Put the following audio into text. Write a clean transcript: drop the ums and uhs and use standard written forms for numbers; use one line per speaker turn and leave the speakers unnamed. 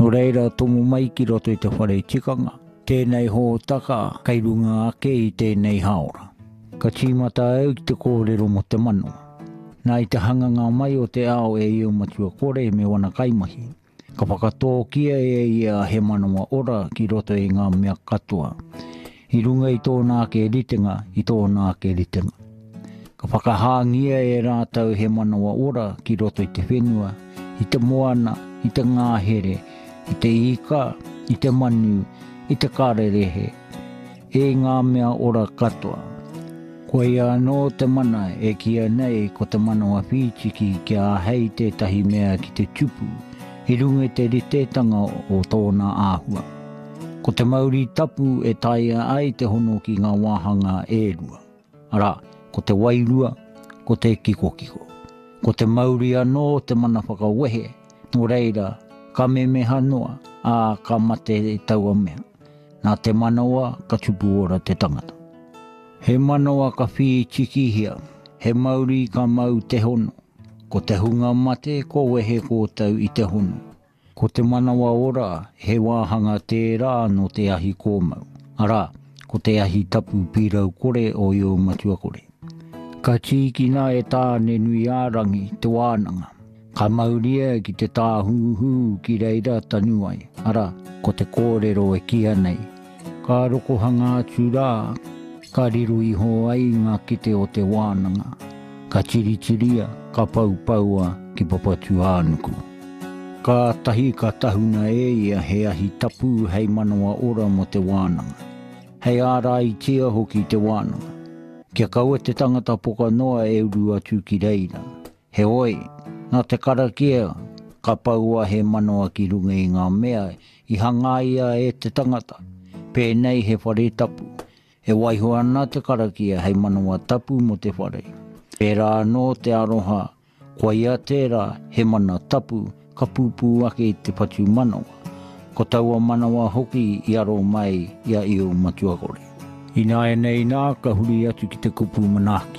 Nō reira, tomo mai ki roto i te whare tikanga, tēnei hōtaka kei runga ake i tēnei hāora. Ka tīmata au ki te kōrero mō te manawa. Nā i te hanganga mai o te ao e Io Matua Kore me wana kaimahi, ka whakatōkia e ia he manawa ora ki roto i ngā mea katoa, i runga i tōna ake ritenga, i tōna ake ritenga. Ka whakahāngia e rātou he manawa ora ki roto i te whenua, i te moana, i te ngāhere, i te ika, i te manu, i te kararehe, e ngā mea ora katoa. Koia anō te mana e kīia nei ko te manawa whītiki kia āhei tētahi mea ki te tupu i runga i te ritetanga o tōna āhua. Ko te mauri tapu e taea ai te hono ki ngā wāhanga e rua. Arā, ko te wairua, ko te kikokiko. Ko te mauri anō te mana whakawehe, nō reira, ka memeha noa, ā, ka mate taua mea. Nā te manawa ka tupu ora te tangata. He manawa ka whītikihia, he mauri ka mau te hono. Ko te hunga mate kua wehe kōtou i te hono. Ko te manawa ora he wāhanga tērā nō te ahi kōmau, arā, ko te ahi tapu pīrau kore o Io Matua Kore. Ka tīkina e Tāne-nui-ā-rangi te wānanga, ka mauria ki te tāhūhū ki reira tanu ai, arā, ko te kōrero e kīia nei, Ka rokohanga atu rā, ka riro iho ai ngā kete o te wānanga, ka tiritiria, ka poupoua ki Papatūānuku. Kātahi ka tahuna e ia he ahi tapu hei manawa ora mō te wānanga, hei āraitia hoki te wānanga, kia kaua te tangata poka noa e uru atu ki reira. Heoi, nā te karakia ka poua he manawa ki runga i ngā mea i hangaia e te tangata, pēnei he whare tapu, e waiho ana te karakia hei manawa tapu mō te whare. Pērā anō te aroha, koia tērā he mana tapu ka pupū ake i te whatumanawa, ko taua manawa hoki i aro mai i a Io Matuakore. Ināianei nā ka huri atu ki te kupu manaaki.